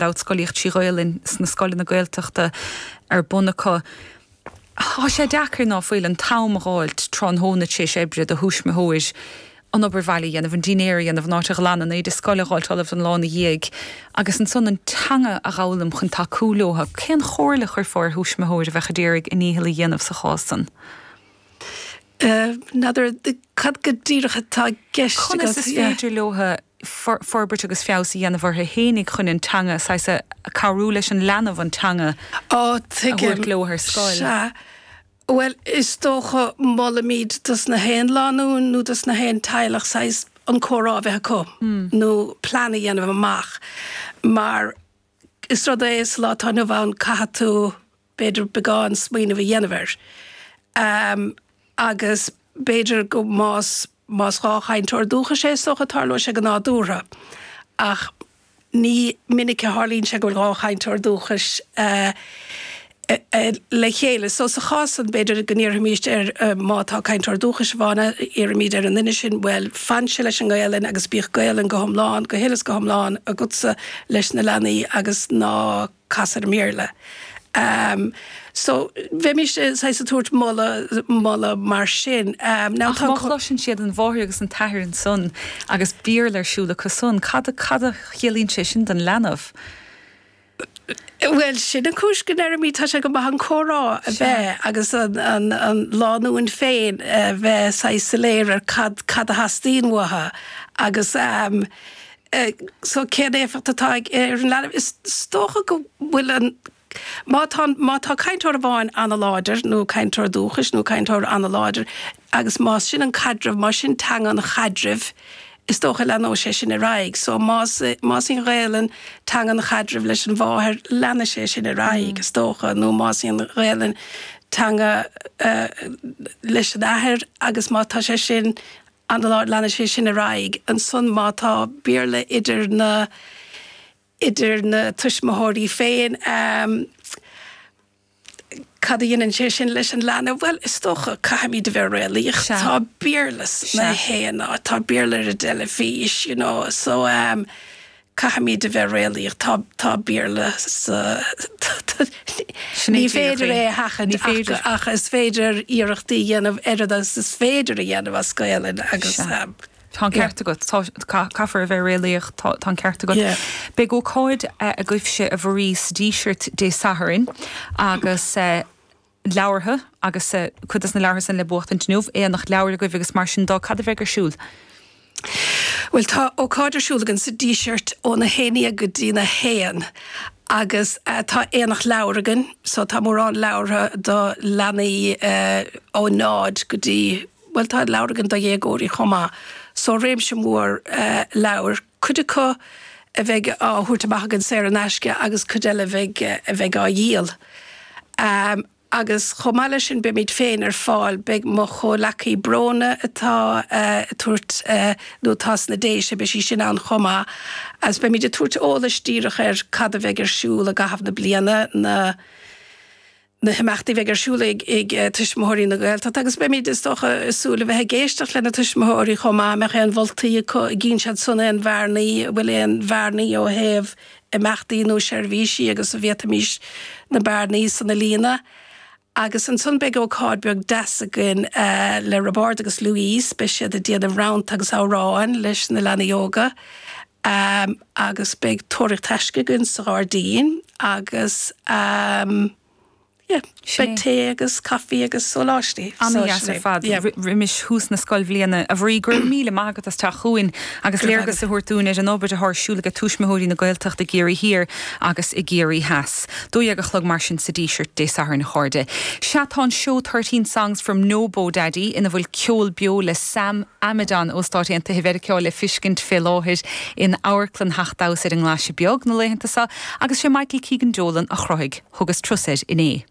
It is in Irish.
Dabht scolaíocht trí Ghaolainn sna scoileanna Gaeltachta ar bun acu. Tá sé deacair, ná fuil, an t-am a dh'fháilt tráthnóna tar éis oibre do thuismitheoir an obair bhaile a dhéanamh, an dinnéar a dhéanamh, an áit a ghlanadh, an éide scoile a dh'fháilt ullamh don lá ina dhiaidh agus ansan an teanga a dh'fhoghlaim chun tacú leotha. Cén chomhairle a chuirfeá ar thuismitheoir a bheadh a d'iarraidh a ndícheall a dhéanamh sa chás san? N'fheadar cad go díreach atá i gceist agat. Conas is féidir leotha forbairt agus feabhas a dhéanamh orthu fhéinig chun an teanga, saghas, a cabhrú leis an leanbh an teanga a thabhairt leo ar scoil? Sea. Bhuel, is dócha, molaimid dos na haon lánúin nó dos na haon teaghlach saghas an comhrá a bheith acu nó plean a dhéanamh amach mar is rud é sa lá atá inniu ann caithfidh tú b'fhéidir beagán smaoineamh a dhéanamh air. Agus b'fhéidir go más más 2 chainteoir dúchais é is dócha tarlóidh sé go nádúrtha ach ní minic a tharlaíonn sé go bhfuil 2 chainteoir dúchais le chéile. So sa chás san b'fhéidir go n-iarrfaimíst ar má tá cainteoir dúchais amháin iarraimid ar an nduine sin bhuel fanse leis an nGaelainn agus bíodh Gaelainn go hiomlán, go huile is go hiomlán agatsa leis na leanaí agus ná cas ar an mBéarla. So, bheimis saghas ag tabhairt moladh, moladh mar sin. Now tá. Ach má chloiseann siad an mháthair agus an t-athair ansan agus Béarla ar siúl acu san, cad a, cad a chiallaíonn sé sin don leanbh? Bhuel, sin an chúis go ndeirimid tá sé go maith an comhrá a bheith agus an, an, an lánúin féin a bheith saghas soiléir ar cad, cad a theastaíonn uathu agus So cén éifeacht atá ag ar an leanbh? Is dócha go bhfuil an, má tá, má tá cainteoir amháin an-láidir nó cainteoir dúchais nó cainteoir an-láidir agus más sin an caidreamh, más sin teanga an chaidrimh, is dócha leanóidh sé sin ar aghaidh. So más, más í an Ghaelainn teanga an chaidrimh leis an mháthair, leanfaidh sé sin ar aghaidh, is dócha, nó más í an Ghaelainn teanga leis an athair agus má tá sé sin an-láidir, leanfaidh sé sin ar aghaidh. Ansan má tá Béarla idir na, idir na tuismitheoirí féin, cad a dhéanann sé sin leis an leanbh? Bhuel, is dócha, caithfimid a bheith réalaíoch. Tá Béarla sna haon áit, tá Béarla ar an dteilifís, you know, so Caithfimid a bheith réalaíoch. Tá, tá Béarla sa, ní féidir é a sheachaint ach, ach is féidir iarrachtaí a dhéanamh oiread agus is féidir a dhéanamh as Gaelainn agus. Sea. Tá an ceart agat. Tá, caithfear a bheith réalaíoch. Tá, tá an ceart agat. Beidh ócáid agaibhse, a Mharie, sa Díseart Dé Sathairn agus leabhartha agus cuid des na leabhartha san le buachtaint inniu, aonach leabhar agaibh agus mar sin dó. Cad a bheidh ar siúl? Bhuel, tá ócáid ar siúl againn sa Díseart óna 11 go dtína 1 agus tá aonach leabhar againn so tá mórán leabhartha do leanaí ó 0 go dtí, bhuel tá leabhar againn do dhéagóirí chomh maith. So réimse mór leabhar, cuid acu a bheidh á thabhairt amach againn saor in aisce agus cuid eile a bheidh a bheidh á dhíol. Agus chomh maith leis sin beimid féin ar fáil, beidh mo chomhleacaí Bróna atá ag tabhairt nó atá sna Déise, beidh sí sin ann chomh maith agus beimid ag tabhairt eolais díreach ar cad a bheidh ar siúl i gcaitheamh na bliana, na na himeachtaí a bheidh ar siúl ag ag Tuismitheoirí na Gaeltachta agus beimid, is dócha, ag súil a bheith ag éisteacht le na tuismitheoirí chomh maith, an mbeadh aon mholtaí acu, an gcíonn siad san aon bhearnaí, an bhfuil aon bhearnaí ó thaobh imeachtaí nó seirbhísí agus an bhféadfaimis na bearnaí san a líonadh. Agus ansan beidh ócáid beag deas againn le Roibeárd agus Louise, beidh siad ag déanamh rannta agus amhráin leis na leanaí óga agus beidh tóraíocht taisce againn sa ghairdín agus. Yeah, beidh tae agus caife agus sóláistí. Ana-dheas ar fad roimis thús na scoilbhliana. A Mharie, go raibh míle maith agat as teacht chugainn agus léargas a thabhairt dúinn ar an obair atá ar siúl ag Tuismitheoirí na Gaeltachta i gCiarraí Thiar agus i gCiarraí Theas. 12 a chlog mar sin sa Díseart Dé Sathairn a chairde. Sea tá an seó 13 Songs from No-Bo Daddy ina bhfuil ceol beo le Sam Amidon ó Stáit Aontaithe Mheiriceá le fiscint fé láthair in Amharclann Theach Damhsa ar an nGlaise Beag na laethanta seo agus sé Michael Keegan Dolan a chruthaigh. Thugas turas air inné.